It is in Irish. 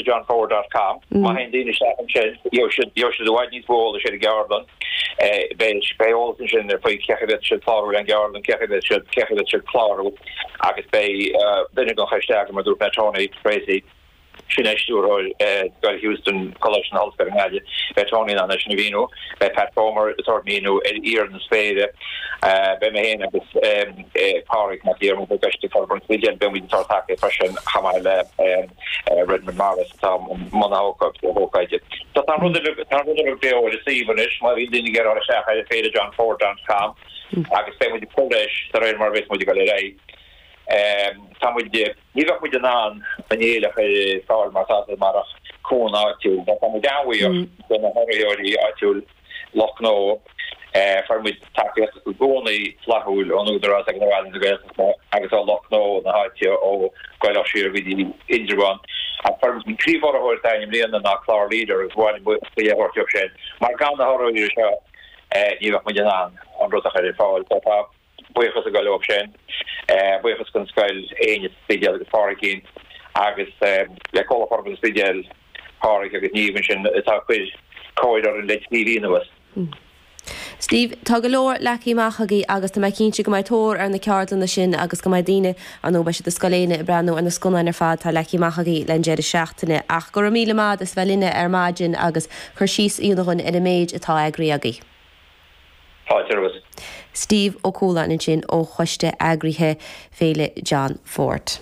FéileJohnFord dot com. Má théann daoine isteach ansin, gheobhaidh siad gheobhaidh siad i bhfad níos mó eolais ar an gceardlann. Beidh beidh eolas ansin faoi cén chaoi a bhféadfaidh siad clárú ar an gceardlann, cén chaoi a bhféadfaidh siad cén chaoi a bhféadfaidh siad clárú agus beidh duine den choiste eagraithe, mar a dúirt mé, Tony Tracy, Sin é stiúrthóir Scoil Heuston, Coláiste na hOllscoile i nGaillimh. Beidh Tony in ann é sin a mhíniú. Beidh Pat Comer ag tabhairt míniú ar fhíor na spéire. Beidh mé féin agus Pádraig Mac Diarmada i gCoiste Forbartha an Spidéil, beidh muid ag tabhairt tacaíocht freisin chomh maith le Redmond Morris atá i mbun na hócáide. So tá an rud uilig, tá an rud uilig beo ar an suíomh anois, má bhíonn daoine ag iarraidh dul isteach ar féilejohnford dot com agus beidh muid ag cur leis de réir mar a bheas muid ag dul ar aghaidh. Tá muid. Ní bheadh muid in ann an fhéile a chur ar fáil mar atá sé marach cúnamh áitiúil. Tá muid an-bhuíoch de na hurraitheoirí áitiúil, lucht gnó. Fuair muid tacaíocht i gcónaí flaithiúil ón Údarás agus ó Ealaín na Gaeltachta agus ó lucht gnó na háite ó Gaelach siar go dtí Indreabhán. Ach fuair muid an príomhurraitheoir atá againn i mbliana ná Clár Leader agus ba mhaith liom buíochas a thabhairt dóibh sin mar gan na hurraitheoirí seo ní bheadh muid in ann an rud a chur ar fáil. So tá. Buíochas ag dul leo sin. Buíochas don scoil, Éinne sa Spidéal agus Pádraigín agus le Comhlacht Forbartha an Spidéil, Pádraig agus Niamh ansin atá ag cur cóir orainn le 3 mhí anuas. Steve, tá go leor leagtha amach agaibh agus tá mé cinnte go mbeidh tóir ar na ceardlanna sin agus go mbeidh daoine, ar ndóigh beidh siad i Scoil Éinne ag breathnú ar na scannáin ar fad atá leagtha amach agaibh len deireadh seachtaine. Ach go raibh míle maith agat as bheith linne ar maidin agus cur síos a dhéanamh dhúinn ar an méid atá eagraithe agaibh. Fáilte romhat. Steve Ó Cualáin ansin ó choiste eagraithe Féile John Ford.